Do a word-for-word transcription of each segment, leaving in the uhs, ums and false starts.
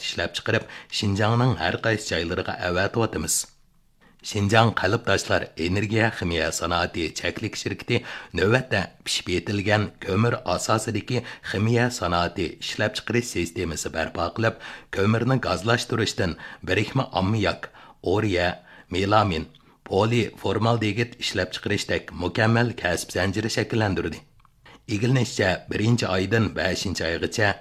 ئىشلەپچىقىرىپ، شىنجاڭنىڭ ھەر قايسى جايلىرىغا ئەۋەتىۋاتىمىز. شىنجاڭ قەلب تاشلار ئېنېرگىيە خىمىيە سانائىتى چەكلىك شىركىتى نۆۋەتتە پىشىپ يېتىلگەن كۆمۈر ئاساسىدىكى خىمىيە سانائىتى ئىشلەپچىقىرىش سىستېمىسى بەرپا قىلىپ، كۆمۈرنى گازلاشتۇرۇشتىن بىرىكمە ئاممىياك، ئۇرېا، مېلامىن، پولىفورمالدېگىد ئىشلەپچىقىرىشتەك مۇكەممەل كەسىپ زەنجىرى شەكىللەندۈردى. ئىگىلىنىشىچە، بىرىنچى ئايدىن بەشىنچى ئايغىچە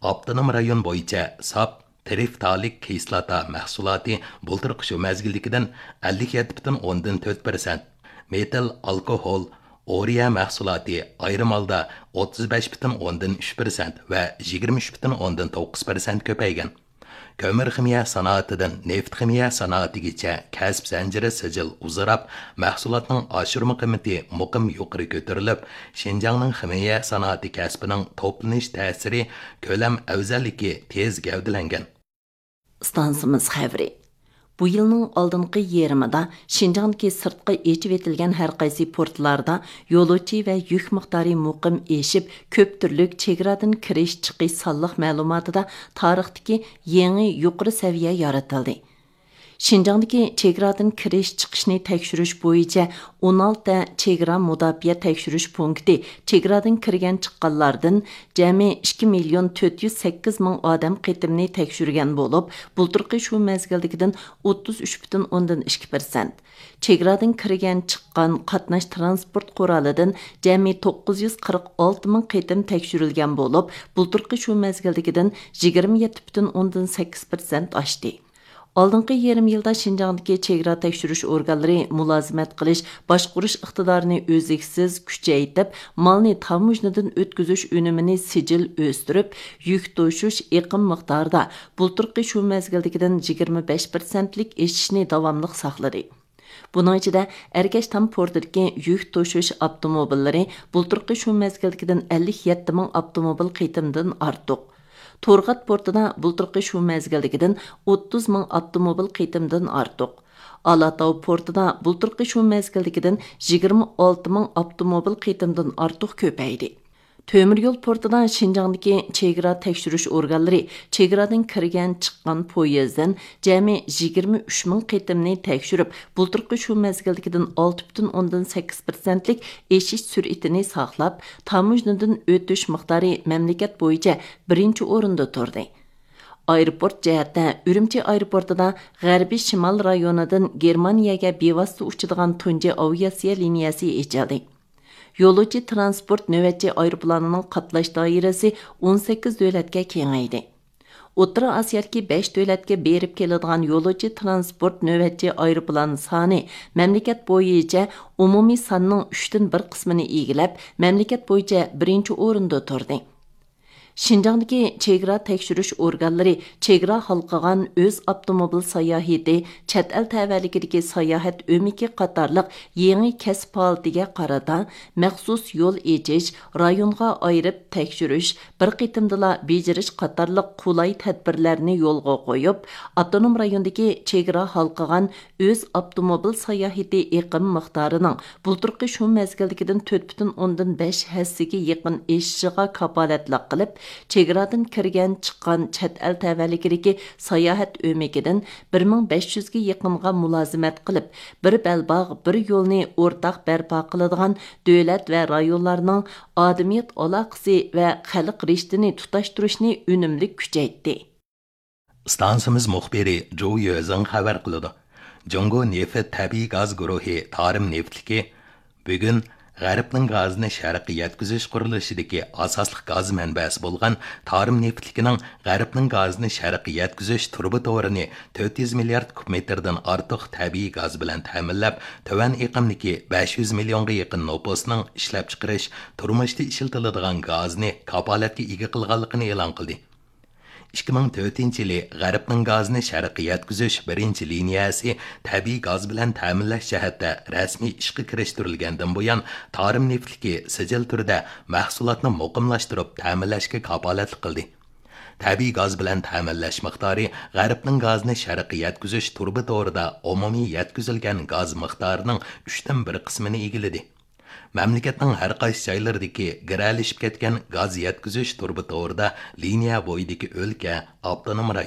ئاپتونوم رايون بويىچە ساپ ترىفتالىك كىسلاتا مەھسۇلاتى بۇلتۇرقى شۇ مەزگىلدىكىدىن ئەللىك يەتتە پۈتۈن ئوندىن تۆت پىرسەنت، مېتىل ئالكوھول، ئۇرېا مەھسۇلاتى ئايرىم ھالدا ئوتتۇز بەش پۈتۈن ئوندىن ئۈچ پىرسەنت ۋە يىگىرمە ئۈچ پۈتۈن ئوندىن توققۇز پىرسەنت كۆپەيگەن. كۆمۈر خىمىيە سانائىتىدىن نېفىت خىمىيە سانائىتىگىچە كەسىپ زەنجىرى سىجىل ئۇزىراپ، مەھسۇلاتنىڭ ئاشۇرما قىممىتى مۇقىم يۇقىرى كۆتۈرۈلۈپ، شىنجاڭنىڭ خىمىيە سانائىتى كەسپىنىڭ توپلىنىش تەسىرى، كۆلەم ئەۋزەللىكى تېز گەۋدىلەنگەن. ئىستانسىمىز خەۋىرى. بۇ يىلنىڭ ئالدىنقى يېرىمىدا شىنجاڭدىكى سىرتقا ئېچىۋېتىلگەن ھەر قايسى پورتلاردا يولۇچى ۋە يۈك مىقدارى مۇقىم ئېشىپ، كۆپ تۈرلۈك چېگرادىن كىرىش چىقىش سانلىق مەلۇماتىدا تارىختىكى يېڭى يۇقىرى سەۋىيە يارىتىلدى. شىنجاڭدىكى چېگرادىن كىرىش چىقىشنى تەكشۈرۈش بويىچە ئون ئالتە چېگرا مۇداپىئە تەكشۈرۈش پونكىتى چېگرادىن كىرگەن چىققانلاردىن جەمئىي ئىككى مىليون تۆت يۈز سەككىز مىڭ ئادەم قېتىمنى تەكشۈرگەن بولۇپ، بۇلتۇرقى شۇ مەزگىلدىكىدىن ئوتتۇز ئۈچ پۈتۈن ئوندىن ئىككى پىرسەنت. چېگرادىن كىرگەن چىققان قاتناش تىرانسپورت قورالىدىن جەمئىي توققۇز يۈز قىرىق ئالتە مىڭ قېتىم تەكشۈرۈلگەن بولۇپ، بۇلتۇرقى شۇ مەزگىلدىكىدىن يىگىرمە يەتتە پۈتۈن ئوندىن سەككىز پىرسەنت ئاشتى. ئالدىنقى يېرىم يىلدا شىنجاڭدىكى چېگرا تەكشۈرۈش ئورگانلىرى مۇلازىمەت قىلىش، باشقۇرۇش ئىقتىدارىنى ئۈزلۈكسىز كۈچەيتىپ، مالنى تاموژنىدىن ئۆتكۈزۈش ئۈنۈمىنى سىجىل ئۆستۈرۈپ، يۈك توشۇش ئېقىم مىقدارىدا بۇلتۇرقى شۇ مەزگىلدىكىدىن يىگىرمە بەش پىرسەنتلىك ئېشىشنى داۋاملىق ساقلىدى. بۇنىڭ ئىچىدە، ئەركەشتام پورتىدىكى يۈك توشۇش ئاپتوموبىللىرى بۇلتۇرقى شۇ مەزگىلدىكىدىن ئەللىك يەتتە مىڭ ئاپتوموبىل قېتىمدىن ئارتۇق. تورغات پورتىدا بۇلتۇرقى شۇ مەزگىلدىكىدىن ئوتتۇز مىڭ ئاپتوموبىل قېتىمدىن ئارتۇق. ئالاتاۋ پورتىدا بۇلتۇرقى شۇ مەزگىلدىكىدىن يىگىرمە ئالتە مىڭ ئاپتوموبىل قېتىمدىن ئارتۇق كۆپەيدى. تۆمۈر يول پورتىدا شىنجاڭدىكى چېگرا تەكشۈرۈش ئورگانلىرى چېگرادىن كىرگەن چىققان پويىزدىن جەمئىي يىگىرمە ئۈچ مىڭ قېتىمنى تەكشۈرۈپ، بۇلتۇرقى شۇ مەزگىلدىكىدىن ئالتە پۈتۈن ئوندىن سەككىز پىرسەنتلىك ئېشىش سۈرئىتىنى ساقلاپ، تاموژنىدىن ئۆتۈش مىقدارى مەملىكەت بويىچە بىرىنچى ئورۇندا تۇردى. ئايروپورت جەھەتتە ئۈرۈمچى ئايروپورتىدا غەربىي شىمال رايونىدىن گېرمانىيەگە بىۋاسىتە ئۇچىدىغان تۇنجى ئاۋىئاتسىيە لىنىيەسى ئېچىلدى. يولۇچى تىرانسپورت نۆۋەتچى ئايروپىلانىنىڭ قاتناش دائىرىسى ئون سەككىز دۆلەتكە كېڭەيدى. ئوتتۇرا ئاسىيادىكى بەش دۆلەتكە بېرىپ كېلىدىغان يولۇچى تىرانسپورت نۆۋەتچى ئايروپىلان سانى مەملىكەت بويىچە ئومۇمىي ساننىڭ ئۈچتىن بىر قىسمىنى ئىگىلەپ، مەملىكەت بويىچە بىرىنچى ئورۇندا تۇردى. شىنجاڭدىكى چېگرا تەكشۈرۈش ئورگانلىرى چېگرا ھالقىغان ئۆز ئاپتوموبىل ساياھىتى، چەت ئەل تەۋەلىكىدىكى ساياھەت ئۆمىكى قاتارلىق يېڭى كەسىپ ھالىتىگە قارىتا مەخسۇس يول ئېچىش، رايونغا ئايرىپ تەكشۈرۈش، بىر قېتىمدىلا بېجىرىش قاتارلىق قولاي تەدبىرلەرنى يولغا قويۇپ، ئاپتونوم رايوندىكى چېگرا ھالقىغان ئۆز ئاپتوموبىل ساياھىتى ئېقىم مىقدارىنىڭ بۇلتۇرقى شۇ مەزگىلدىكىدىن تۆت پۈتۈن ئوندىن بەش ھەسسىگە يېقىن ئېشىشىغا كاپالەتلىك قىلىپ، چېگرادىن كىرگەن، چىققان چەت ئەل تەۋەلىكىدىكى ساياھەت ئۆمىكىدىن بىر مىڭ بەش يۈزگە يېقىنغا مۇلازىمەت قىلىپ، بىر بەلباغ، بىر يولنى ئورتاق بەرپا قىلىدىغان دۆلەت ۋە رايونلارنىڭ ئادەمىيەت ئالاقىسى ۋە خەلق رىشتىنى تۇتاشتۇرۇشنى ئۈنۈملۈك كۈچەيتتى. ئىستانسىمىز مۇخبىرى جۇ يۆزىڭ خەۋەر قىلىدۇ. جۇڭگو نېفىت تەبىئىي گاز گۇرۇھى تارىم نېفىتلىكى بۈگۈن غەربنىڭ گازىنى شەرققە يەتكۈزۈش قۇرۇلۇشىدىكى ئاساسلىق گاز مەنبەسى بولغان تارىم نېفىتلىكىنىڭ غەربنىڭ گازىنى شەرققە يەتكۈزۈش تۇرۇبا تورىنى تۆت يۈز مىليارد كۇب مېتىردىن ئارتۇق تەبىئىي گاز بىلەن تەمىنلەپ، تۆۋەن ئېقىمدىكى بەش يۈز مىليونغا يېقىن نوپۇسنىڭ ئىشلەپچىقىرىش، تۇرمۇشتا ئىشلىتىلىدىغان گازىنى كاپالەتكە ئىگە قىلغانلىقىنى ئېلان قىلدى. ئىككى مىڭ تۆتىنچى يىلى غەربنىڭ گازىنى شەرققە يەتكۈزۈش بىرىنچى لىنىيەسى تەبىئىي گاز بىلەن تەمىنلەش جەھەتتە رەسمىي ئىشقا كىرىشتۈرۈلگەندىن بۇيان، تارىم نېفىتلىكى سىجىل تۈردە مەھسۇلاتنى مۇقىملاشتۇرۇپ تەمىنلەشكە كاپالەتلىك قىلدى. تەبىئىي گاز بىلەن تەمىنلەش مىقدارى غەربنىڭ گازىنى شەرققە يەتكۈزۈش تۇرۇبا تورىدا ئومۇمىي يەتكۈزۈلگەن گاز مىقدارىنىڭ ئۈچتىن بىر قىسمىنى ئىگىلىدى. مەملىكەتنىڭ ھەر قايسى جايلىرىدىكى گىرەلىشىپ كەتكەن گاز يەتكۈزۈش تۇرۇبا تورىدا لىنىيە بويىدىكى ئۆلكە، ئاپتونوم رايون،